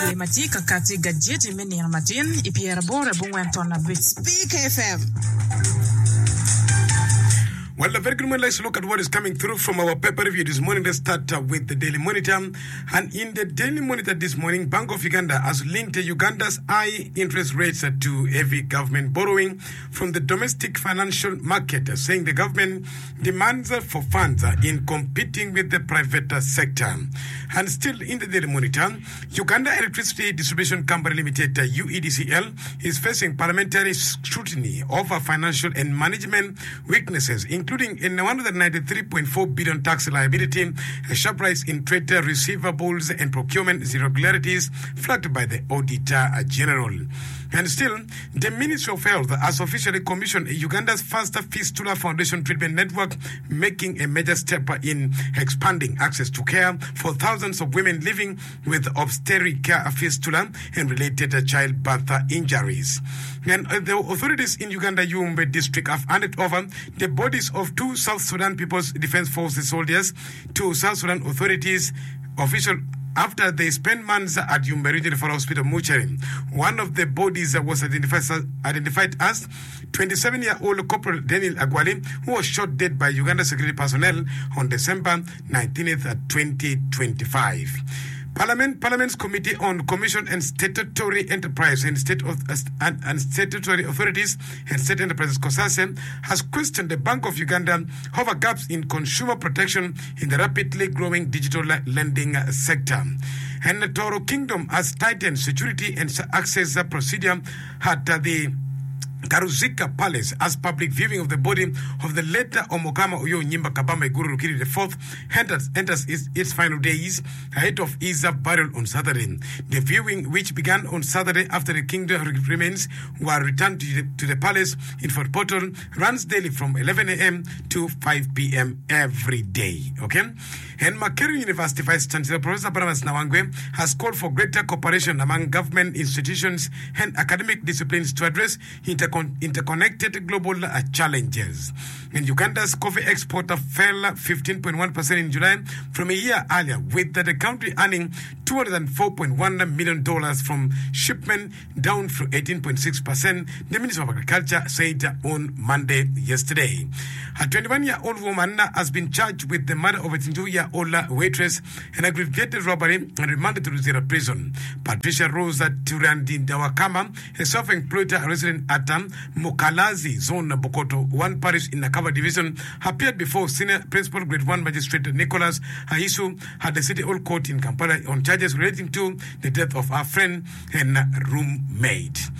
Jami ma tye ka katti i gajeti me nino matin i pyeraboro abongwen ton abic. Speak FM. Well, a very good morning. Let's look at what is coming through from our paper review this morning. Let's start uh, with the Daily Monitor. And in the Daily Monitor this morning, Bank of Uganda has linked Uganda's high interest rates uh, to heavy government borrowing from the domestic financial market, uh, saying the government demands for funds in competing with the private sector. And still in the Daily Monitor, Uganda Electricity Distribution Company Limited, UEDCL, is facing parliamentary scrutiny over financial and management weaknesses, including a 193.4 billion tax liability, a sharp rise in trade receivables and procurement irregularities flagged by the Auditor General. And still, the Ministry of Health has officially commissioned Uganda's first fistula foundation treatment network, making a major step in expanding access to care for thousands of women living with obstetric fistula and related childbirth injuries. And the authorities in Uganda Yumbe district have handed over the bodies of two South Sudan People's Defense Forces soldiers to South Sudan authorities official after they spent months at Yumbe Regional Referral Hospital mortuary. One of the bodies was identified, identified as 27-year-old Corporal Daniel Agwali, who was shot dead by Uganda security personnel on December 19th, 2025. Parliament, Parliament's Committee on Commission and Statutory Enterprise and State and, and Statutory Authorities and State Enterprises COSASE has questioned the Bank of Uganda over gaps in consumer protection in the rapidly growing digital lending sector. And the Toro Kingdom has tightened security and access procedure at the Karuzika Palace as public viewing of the body of the late Omukama Oyo Nyimba Kabamba Iguru Rukiri IV enters, enters its, its final days ahead of his burial on Saturday. The viewing, which began on Saturday after the kingdom remains were returned to the, to the palace in Fort Portal, runs daily from 11 a.m. to 5 p.m. every day. Okay? And Makerere University Vice Chancellor Professor Barnabas Nawangwe has called for greater cooperation among government institutions and academic disciplines to address intercon- interconnected global uh, challenges. And Uganda's coffee export fell 15.1% in July from a year earlier, with the country earning $204.1 million from shipment down from 18.6%, the Minister of Agriculture said on Monday yesterday. A 21-year-old woman has been charged with the murder of a 22-year-old waitress and aggravated robbery and remanded to Luzira prison. Patricia Rosa Turandindawakama, a self-employed resident at Mukalazi Zone, Bukoto 1 Parish in Nakawa Division, appeared before Senior Principal Grade 1 Magistrate Nicholas Haisu at the City Hall Court in Kampala on charges relating to the death of her friend and roommate.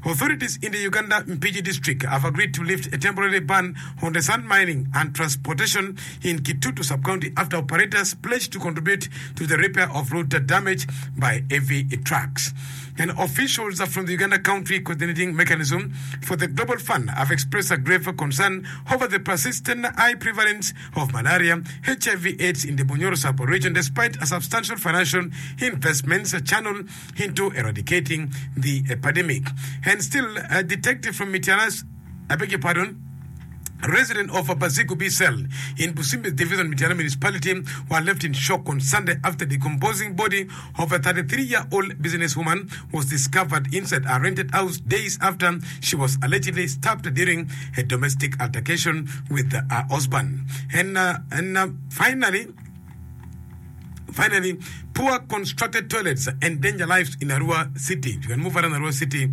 Authorities in the Uganda Mpigi district have agreed to lift a temporary ban on the sand mining and transportation in Kitutu sub-county after operators pledged to contribute to the repair of road damage by heavy trucks. And officials from the Uganda Country Coordinating Mechanism for the Global Fund have expressed a grave concern over the persistent high prevalence of malaria, HIV AIDS in the Bunyoro sub-region despite a substantial financial investments channeled into eradicating the epidemic. And still, a detective from Mityana's, I beg your pardon, resident of Bazigu B cell in Busimbi Division, Mityana Municipality, were left in shock on Sunday after the decomposing body of a 33-year-old businesswoman was discovered inside a rented house days after she was allegedly stabbed during a domestic altercation with her husband. And, uh, and uh, finally, Finally, poor constructed toilets endanger lives in Arua City. You can move around Arua City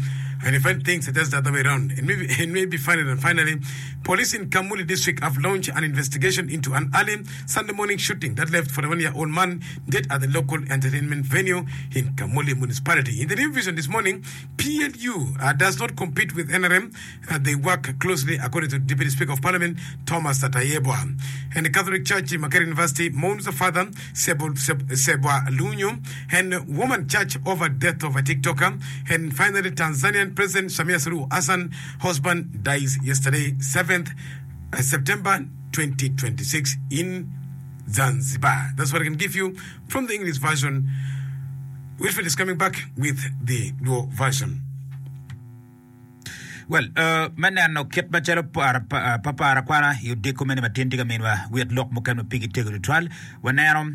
and you find things just the other way around. And maybe, and maybe finally, and finally, police in Kamuli district have launched an investigation into an early Sunday morning shooting that left 41-year-old man dead at the local entertainment venue in Kamuli municipality. In the new vision this morning, PLU uh, does not compete with NRM. Uh, they work closely, according to Deputy Speaker of Parliament Thomas Tayebwa. And the Catholic Church in Makerere University mourns the father, Sebo, Sebwa Lunyu, and woman church over death of a TikToker. And finally, Tanzanian President Samia Suluhu Hassan, husband, dies yesterday, 7th uh, September 2026 in Zanzibar. That's what I can give you from the English version. Wilfred is coming back with the Luo version. Well, me neno kit macalo papara kwana i odiko mene matin tye ka minwa wit lok mukene ma pigi tego tutwal, waneno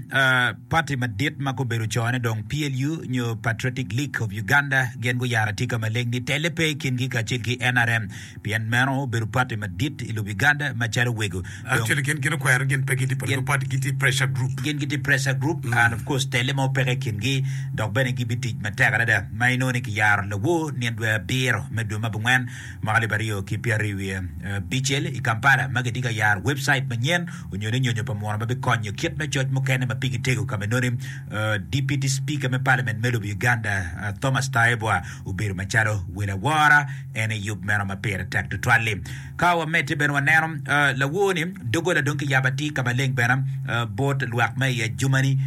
pati madit ma gubedo cone dong PLU nyo Patriotic League of Uganda gin guyaro atika maleng ni telle pe i kingi kacel ki NRM pien meno obedo pati madit i lobo Uganda macalo wego. Actually gin gin okwero gin pe gitye political party gitye pressure group. Gin gitye pressure group and of course telle mo peke i kingi dok bene gibitic matek adada ma inongo ni kiyaro lawor nino dwe abiro me dwe me abongwen mwaka alip aryo ki pyeraryo wiye abicel i Kampala ma gitye ka yaro website manyen onyo ni nyonyo pa muno ma bikonyo kit me coc mukene ma pigi tego ka ma inongo ni Deputy Speaker me Parliament me lobo Uganda Thomas Tayebwa obedo macalo wel awora en i yub meno ma pire tek tutwal-li. Ka wamedde bene waneno lawor-ni, doggola dong kiyabo atir ka maleng bene bot lwak ma i ajumani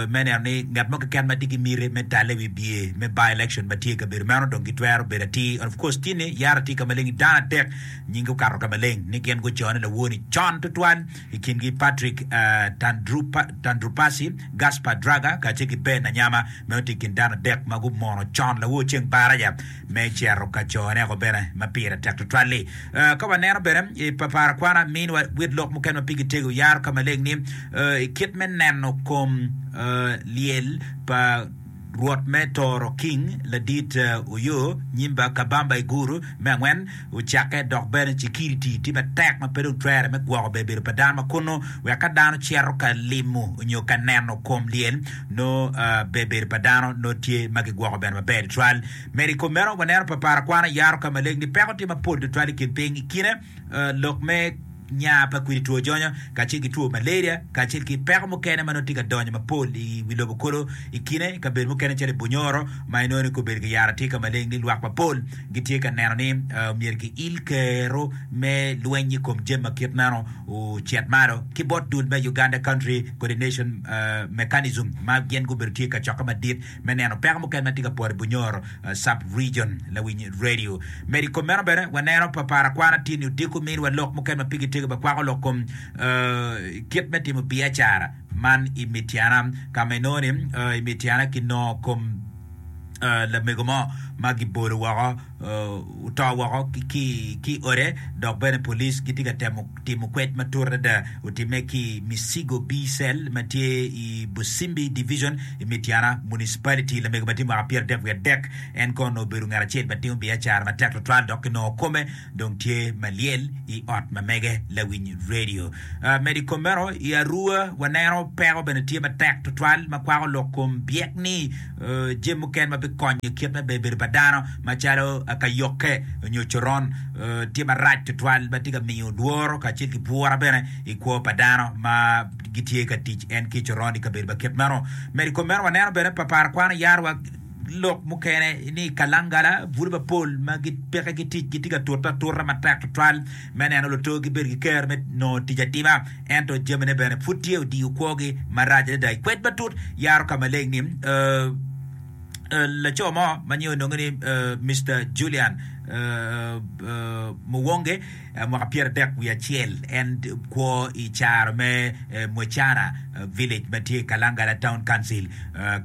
me neno ni ngat mo keken ma tye ki miti me talle i wi bye me by-election ma tye i kabedo meno dong gitwero bedo atir. And of course tye ni yaro atir ka maleng dano adek nyingi okato ka maleng ni gin gucone lawor-ni con tutwal i kingi Patrick Tandrupasi, Gaspar Draga kacel ki Ben Anyama meno tye i kin dano adek ma gumono con lawor ceng baraja. me cito ka cone-ko bene ma pire tek tutwal-li. Ka waneno bene i papara kwana miniwa wit lok mukene ma pigi tego yaro ka maleng ni i kit me neno kom lyel pa Rwot me Toro King ladit Oyo Nyimba Kabamba Iguru me angwen ocakke dok bene cikiriti tye matek ma pe dong twere me gwoko ber bedo pa dano ma kunu wek ka dano cito ka limo nyo ka neno kom lyel nongo ber bedo pa dano nongo tye ma gigwoko bene maber tutwal. Medo i kom meno, waneno pa par akwana yaro ka maleng ni peko tye mapol tutwal i kin piny. I kine, lok me nya pa kwidi two jonyo kacel ki two malaria kacel ki peko mukene ma nongo tye ka donyo mapol i wi lobo kulu. I kine, i kabedo mukene calo i Bunyoro ma inongo ni kobedo ki yaro tye ka maleng ni lwak mapol gitye ka neno ni myero kiil kero me lweny i kom jami ma kit meno ocit malo ki bot dul me Uganda Country Coordination Mechanism ma gin gubedo tye i kacokke madit me neno peko mukene ma tye ka poto i Bunyoro Sub Region. Lawiny Radio. Medo i kom meno bene waneno pa par akwana tye ni odiko miniwa lok mukene ma pigi tego ma kwako lok kom kit me timo biacara man i Mityana ka ma inongo ni i Mityana kinongo kom lamego mo ma gibolo woko oto woko ki i ode dok bene police gitye ka temo timo kwed matut adada otimme ki i Misigo B-Cell ma tye i Busimbi Division i Mityana Municipality. Lamego ma tye mwaka 33 wiye adek en kono obedo ngat acel ma timo biacara matek tutwal dok kinongo kome dong tye ma lyel i ot ma mege lawiny radio. Medo i kom meno, i Arua waneno peko bene tye matek tutwal ma kwako lok kom byek ni jami mukene ma bikonyo kit me bedo pa dano macalo kayokke nyo coron tye marac tutwal ma tye ka miyo lworo kacel ki bwura bene i kwo pa dano ma gitye ka tic en ki coron i kabedo ma kit meno. Medo i kom meno waneno bene pa par kwano yaro wa lok mukene ni kalangala bulu mapol ma gipeke ki tic gitye ka tute atuta matek tutwal me neno luto gibedo ki ker me nongo tic atima ento jamine bene pud tye odiyo kwogi marac adada. I kwed matut yaro ka maleng ni laco mo ma nyinge ononge ni Mister Julian Muwonge mwaka 31 en kwo i caro me Mwecana Village ma tye i Kalangala Town Council.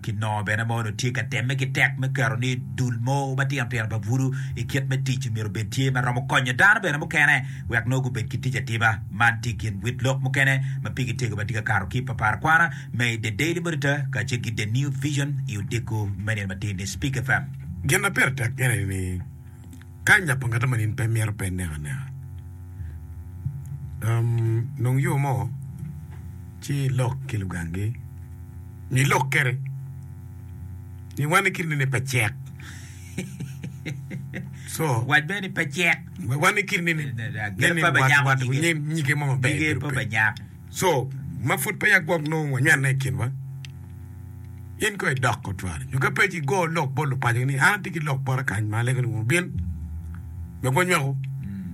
Kinongo bene ma onongo tye ka temme ki tek me keto ni dul mo matino tino pa bulu i kit me tic myero obed tye ma romo konyo dano bene mukene wek nongo gubed ki tic atima. Man tye i kin wit lok mukene ma pigi tego ma tye ka kato ki i papar kwana me The Daily Monitor kacel ki The New Vision i odiko me nino matin ni Speak FM. Gin ma pire tek ene ni ka inyapo ngat mo in pe imito pe ineko aneka. Nong yo mo ci ilok ki lugangi nyo ilok kwede ni wan i kine ni pe cek. So, Wac bene ni pe cek. Wan i kine ni Gire pe banyako nyige. nyige mo maber Nyige bedo pe pe. banyak. So, ma pud peya gwok nongo wanywene i kinwa, in kong idok otwal. Nyo ka pe ci igo lok bot lupacogi ni, 'An atye ki lok bota kany ma alego ni wun wubin wek wanywaku.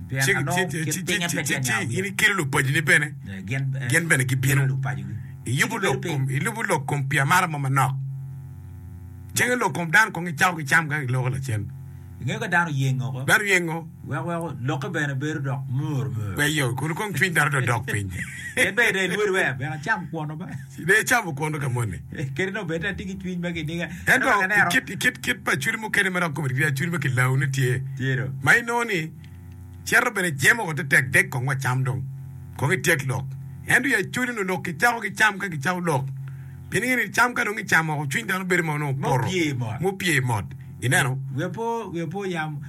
Pien Ci, anongo ci, kit ci, pinye ci, pe ci, tye ci anyango in wiye. ikelo lupaconi bene, Eh, Gin, eh, gin bene kelo gibino. lupacogi. Iyubo Ci gibedo lok piny. kom, ilubo lok kom pi amara mo manok. Cenge lok kom dano kong gicako gicam ka giloko lacen. Ingeyo ka dano oyeng oko. Dano yengo. Wek weko lokke bene bedo dok mur mur. Pe yo, kun kong cwiny dano dong dok piny. En bene dong ilwod wek bene acam kwono ba. Dong icamo kwono ka moni. Kadi dong bed atye ki cwiny ma kiniga. Ento i kit, i kit, kit pa acwiny mukene ma dok kome tye acwiny ma kilawone tye. Tye do. Ma inongo ni. Cito bene jemo woko tetek dek kong wa cam dong. Kong ityek lok. Ento i Acholi onongo lok kicako ki cam ka kicako lok. Pien inge ni cam ka dong kicamo woko cwiny dano bedo ma onongo opoto. Mupye mot. Ineno? Wiya po, wiya po yam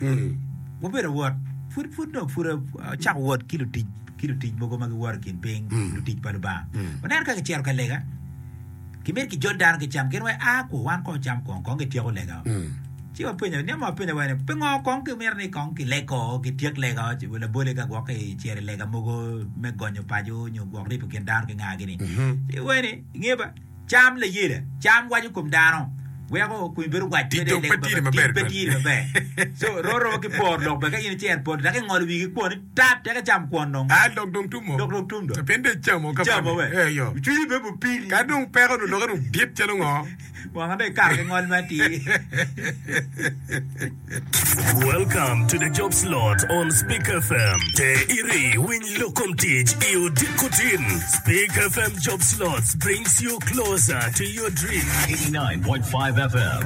wabedo wot, pud pud nongo pud acako wot ki lutic ki lutic mogo ma giwoto i kin piny, lutic pa Lubanga. Waneno ka gicito ka lega, kimito kijol dano ki cam, gin wai a kwo wan kong cam kong, kong gityeko lega. Ci wapenyo, niang mo apenyo wa ni, pingo kong kimito ni kong kileg ko, kityek lega, labole ka gwok kicito i lega mogo me gonyo paco nyo gwok ripo kin dano ki nga gini. Ci wai ni, inge ba, cam layela, cam waco kom dano, weko komi bedo wac Tic dong pe tye maber tic pe tye maber. So ro romo ki por lok bene ka in icito i poto dok ingolo wigi ki kwon ni tap tek icam kwon dong. Ah lok dong tum o. Lok dong tum dong. Pien dong icamo ka Icamo we. Eh yo. Cwinyi bene bupili. Ka dong peko dong lokke dong dit calo ngo. Wanga dong ikato ki ngol ma atir. Welcome to the job slot on Speak FM. Te iri winy lok kom tic i odiko tin. Speak FM job slots brings you closer to your dream. 89.5 FM.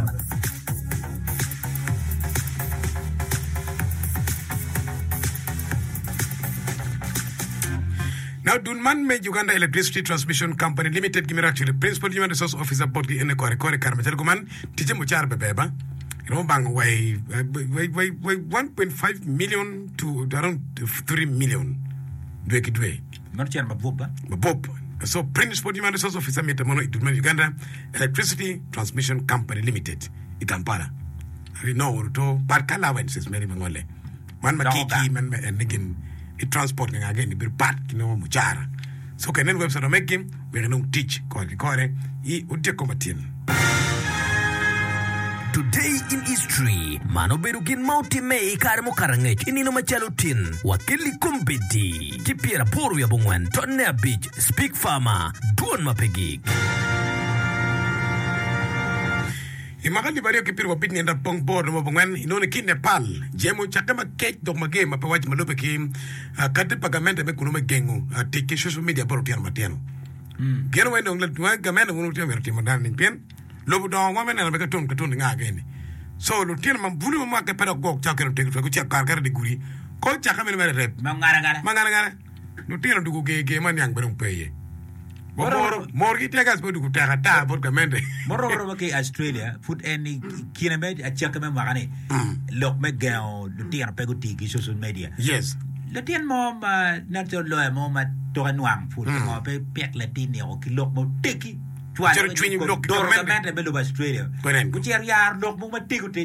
Now dul man me Uganda Electricity Transmission Company Limited gimito actually Principal Human Resource Officer botgi ene kore kore kare macalo kuman ticce mucara ber ber ba iromo bango wa i wa i 1.5 million to around 3 million dwe ki dwe. Meno cen mabup ba? Mabup. So Principal Human Resource Officer mitte mono i dul man Uganda Electricity Transmission Company Limited i Kampala. Inongo to but ka allowances mere mangole. Man ma Doko ki gang. man ma en ni gin i transport ki nga gin bedo pat ki nongo mucara. So ka inen website ma meggi wek inong tic kore ki kore i odyeko matin. Today in History, Man obedo gin ma otimme i kare mukato angec i nino macalo tin wa kelli kombeddi ki pyeraboro wiye abongwen tonne abic Speak Farmer, Dwon ma pe gik. I mwaka alip aryo ki pyerabic nyen rapong bor romo abongwen inongo ni ki i Nepal, jemo ocakke makec dok mager ma pe waco ma lubbe ki kati pa gamente me kunu me gengo tic ki social media bot lutino matino. Gin weng dong gamente wun wutye myero timo dano nining pien lobo dongo wa me neno bene katun katun nga gini. So lutino ma bulu ma mwake pe dok gwok cako kelo tego twero gucako kare kare di gudi ko cakke meno mere rep Ma ngara ngara. ma ngara ngara. Lutino dugu ger ger ma niang bene dong pe iye. Wa mor, morgi tear gas pe odugu tek ata bot gamente. Moromo romo ki i Australia, pud en i kine me acakki me mwaka-ni, lok me gengo lutino pe guti ki social media. Yes. Latin mo ma nen calo loya mo ma toke nwang pud pingo pe pik latin-ni-o ki lok ma oteggi cwalo Cito cwiny lok ki doro gamente. gamente me lobo Australia. Kwenen. Gucito yaro lok mogo matego tego.